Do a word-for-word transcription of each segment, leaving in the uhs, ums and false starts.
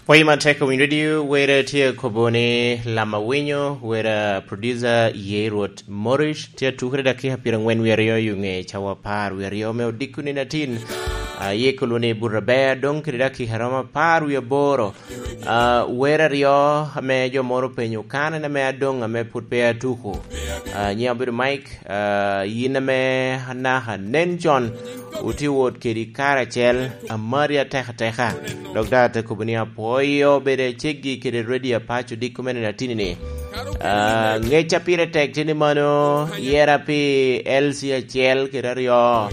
Pwoyo matek owiny radio, wera tye akobo ni Lama Winyo, wera producer ye Rwot Morris, tye atukere dakika pyerangwen wie aryo i ŋe cawa apar wie aryo me odiko nino atin. Ah, ye kulu ni Burabea, dong kede dakika romo apar wie aboro. Ah, wera aryo ame jo moro openyo kan en ame adong ame pwod pe atuko. Ah, nyiŋa obedo Mike. Ah, yin ame anaka nen con, otye wot kedi karacel, amari atek ateka. Dok daŋ ate kobo ni apwoyo bedo aceggi kede Radio Apac odiko me nino atini-ni. Ah, ŋec a pire tek tye ni mano, yera pi L C acel kede aryo,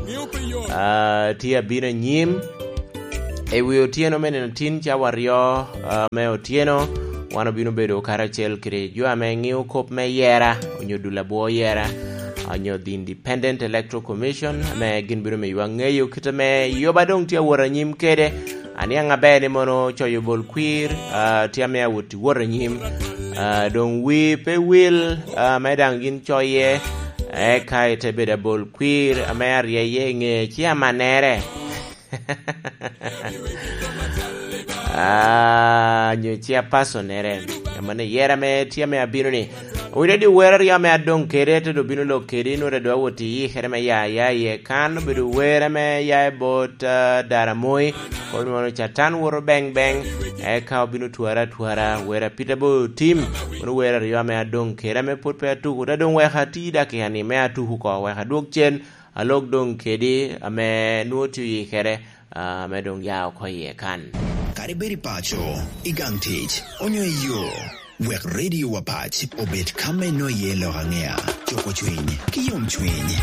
ah, tye abino anyim. I wi otyeno me nino tin cawa aryo, ah, me otyeno, wan obino bedo karacel kede jo ame ŋeo kop me yera, onyo dul abwo yera, onyo the Independent Electoral Commission, ame gin bino miyowa ŋeyo kit ame yoba doŋ tye awot anyim kede. Aniaŋ aber ni mono coyo bol kwir, ah, tye ame awot i wot anyim. Ah, doŋ wi pe wil, ah, ame daŋ gin coye, eka ite bedo abol kwir, ame aryeye i ŋe ci amanere. Ah, nyo ci apasonere. Amanne yera me tye ame abino ni. Owinyo di wera aryo ame adoŋ kede, te doŋ bino lok kedi, nwoŋo doŋ awot i yikere me ya, ya iye kan, obedo wera me ya i bot, ah, Daramoi, kono mono Catan woto beŋ beŋ, eka obino twara atwara, wera Peter Bo Tim, kono wera aryo ame adoŋ kede, ame pwod pe atuko, te doŋ weka ati dakika ni me atuko oko, weka adwog cen, alok doŋ kedi, ame nwoŋo tye oyikere, ah, ame doŋ ya oko iye kan. Kadi bed i paco, i gang tic, onyo i yo, wek Radio Apac obed ka me nwoŋo iye lok aŋea, cuko cwiny, ki yomcwiny.